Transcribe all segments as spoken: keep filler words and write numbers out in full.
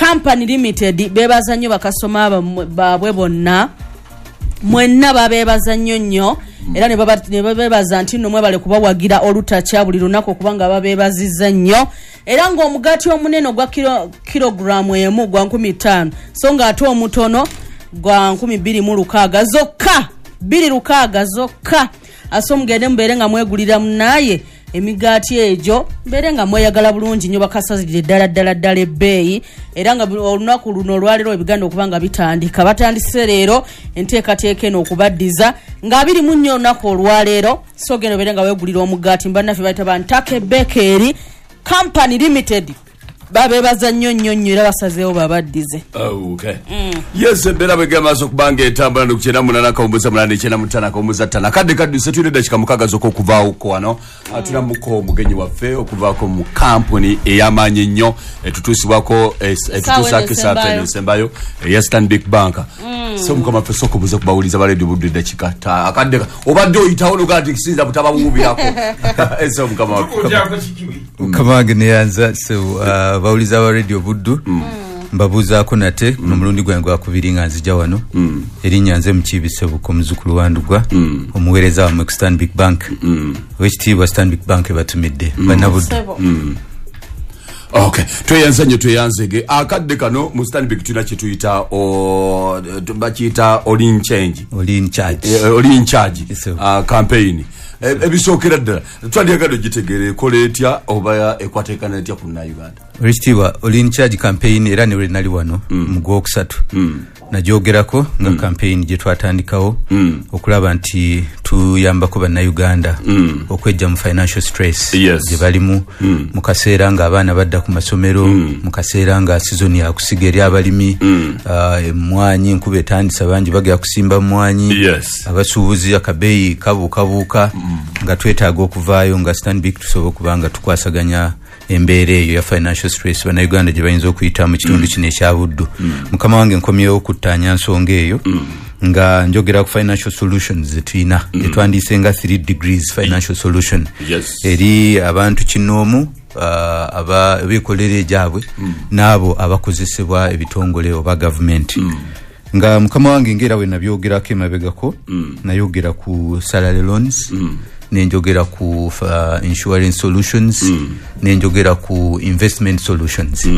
Company Limited beebaza nnyo bakasoma baabwe bonna, mwenna babeebaza nnyo nnyo, era ne babeebaza nti nno mwebale kubawagira olutakya buli lunaku okubanga babeebazizza nnyo. Era ng'omugaati omunene ogwa kilogulaamu emu gwa nkumi ttaano, so ng'ate omutono gwa nkumi bbiri mu lukaaga zokka, bbiri lukaaga zokka. Aso mugende mubeere nga mwegulira munaaye emigaati egyo, mbeere nga mweyagala bulungi nnyo, bakasazirire ddala ddala ddala ebbeeyi. Era nga olunaku luno olwaleero ebiganda okuba nga bitandika, batandise leero enteekateeka eno okubaddiza nga abiri mu nnya olunaku olwaleero. So genda obeere nga weegulira omugaati. Bannaffe bayita ba Ntake Bakery Company Limited, babeebaza nnyo nnyo nnyo era basazeewo babaddize. Okay. Yes, embeera bwegenda maaso okubanga etambula ndi ku kyenda munaana akawumbuza munaana ekyenda mu ttaano akawumbuza ttaano. Akadde kadduse, tulina eddakiika mukaaga zokka okuvaawoko wano. Tulamuko omugenyi waffe okuvaako mu kampuni ey'amaanyi ennyo etutuusibwako, etutuusaako essaawa eno esembayo eya Stanbic Bank. So mukama waffe, sooka obuuze ku bawuliza ba Radio Buddu eddakiika ttaano. Akadde obadde oyitawo nogaa nti kisinza butabawuubirako. So mukama waffe. Mukama wange neyanza. So uh, bawuliza ba Radio Buddu, mbabuuzaako nate guno omulundi gwange gwakubiri nga nzija wano. Erinnya nze Mukiibi Sebuko, omuzukulu wa Ndugwa, omuweereza wammwe ku Stanbic Bank. Owekitiibwa, Stanbic Bank ebatumidde, bannabuddu. Okay, tweyanza nnyo, tweyanzege. Akadde kano mu Stanbic tulina kyetuyita, bakiyita All in Change. All in Charge. All in Charge Yes, sir. campaign. Ebisookera ddala twandyagadde ogitegeera, ekola etya oba ekwateekana etya ku Nnayuganda? Olwekitiibwa, All in Charge campaign, era ne lwe nali wano mu gwokusatu nagyogerako nga campaign gye twatandikawo okulaba nti tuyambako Bannayuganda okwejja mu financial stress Yes. gye balimu mu kaseera ng'abaana badda ku masomero, mu kaseera nga sizoni yakusiga eri abalimi, ah, emmwanyi enkuba etandise, bangi bagenda kusimba mmwanyi, Yes. abasuubuzi akabeeyi kabuukabuuka, nga twetaaga okuvaayo nga Stanbic tusobola okuba nga tukwasaganya embeera eyo ya financial stress Bannayuganda gye bayinza okuyita mu kitundu kino ekya Buddu. Mukama wange, nkomyewo okuttaanya nsonga eyo nga njogera ku financial solutions zetulina etwandiise nga three degrees financial solution Yes. eri abantu kinoomu, uh, aba abeekolera egyabwe n'abo abakozesebwa ebitongole oba gavumenti. Nga mukama wange, ngaera we nabyogerako emabegako, nayogera ku salary loans, nenjogera ku uh, insurance solutions, nenjogera ku investment solutions.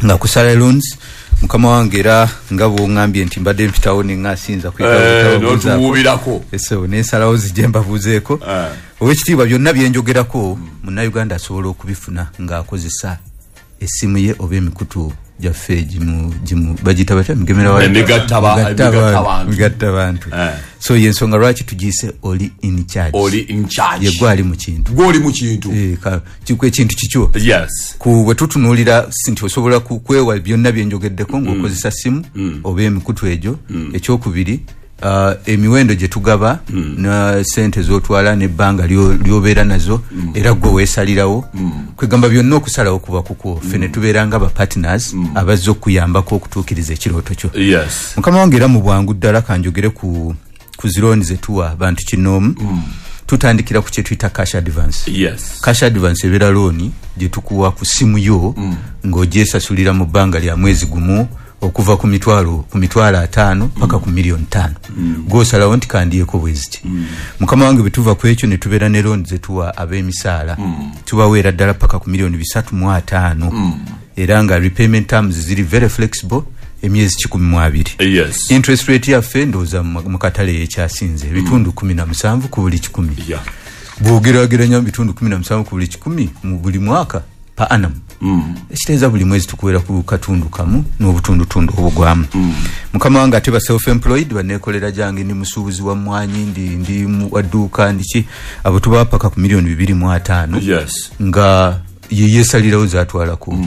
Nga ku salary loans, mukama wange, era nga bwoŋŋambye nti mbadde mpitawo neŋŋasinza. Eh, n'otuwuubirako. So nensalawo zijje mbabuuzeeko. Eh. Owekitiibwa, byonna byenjogerako Munnayuganda asobola okubifuna ng'akozesa essimu ye oba emikutu gyaffe gimu gimu bagiyita batya? Migemera wa- Emigattaba- Migattabantu. Emigattabantu. Migattabantu. Eh. So yensonga lwaki tugiyise Oli in Charge. Oli in Charge. Ye gwe ali mu kintu. Gwoli mu kintu. Eh, ka- kiku ekintu kikyo. Yes ku bwe tutunuulira si nti osobola ku- kwewa byonna byenjogeddeko ng'okozesa simu oba emikutu egyo. Ekyokubiri, uh, emiwendo gye tugaba na sente z'otwala n'ebbanga lyo- ly'obeera nazo, era gwe weesalirawo. Kwegamba byonna okusalawo kuba kukwo, ffe ne tubeera nga ba partners abazze okuyambako okutuukiriza ekirooto kyo. Yes mukama wange, era mu bwangu ddala kanjogere ku ku zirooni zetuwa bantu kinoomu. Tutandikira ku kyetuyita cash advance. Yes cash advance ebeera looni gye tukuwa ku simu yo ng'ogyesasulira mu bbanga lya mwezi gumu, okuva ku mitwalo ku mitwalo ataano paka ku miliyoni ttaano. Gwosalawo nti kandiyeko bweziti. Mukama wange, bwe tuva ku ekyo ne tubeera ne looni zetuwa ab'emisaala. Tubaweera ddala paka ku miliyoni bisatu mu ataano, era nga repayment terms ziri very flexible, emyezi kikumi mu abiri. Yes interest rate yaffe, ndowooza mu mu katale yekyasinze, ebitundu kumi na musanvu ku buli kikumi. Yeah bw'ogeraageranya mu bitundu kumi na musanvu ku buli kikumi mu buli mwaka, per annum, ekitegeeza buli mwezi tukuwera ku katundu kamu n'obutundutundu obugwamu. Mukama wange, ate ba self employed, baneekolera gyange, ndi musuubuzi wa mmwanyi, ndi, ndi mu- wa dduuka, ndiki, abo tubawa paka ku miliyoni bibiri mu ataano, yes nga yeyesalirawo zatwalako.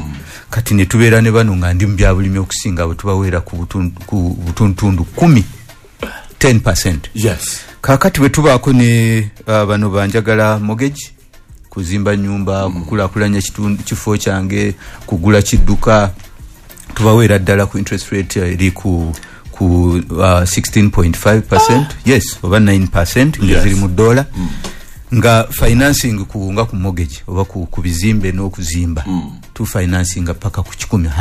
Kati ne tubeera ne bano nga ndi mu byabulimi okusinga, abo tubaweera ku butundu- ku butundutundu kumi, ten percent. Yes kaakati bwe tubaako ne uh, bano banjagala mortgage, kuzimba nyumba, mm. kukulaakulanya kitundu- kifo kyange, kugula kidduka, tubaweera ddala ku interest rate eri ku ku uh, sixteen point five percent, yes, oba nine percent nga Yes. ziri mu dola, nga financing ku nga ku mortgage oba ku, ku bizimbe n'okuzimba, mm. tu financinga paka ku kikumi.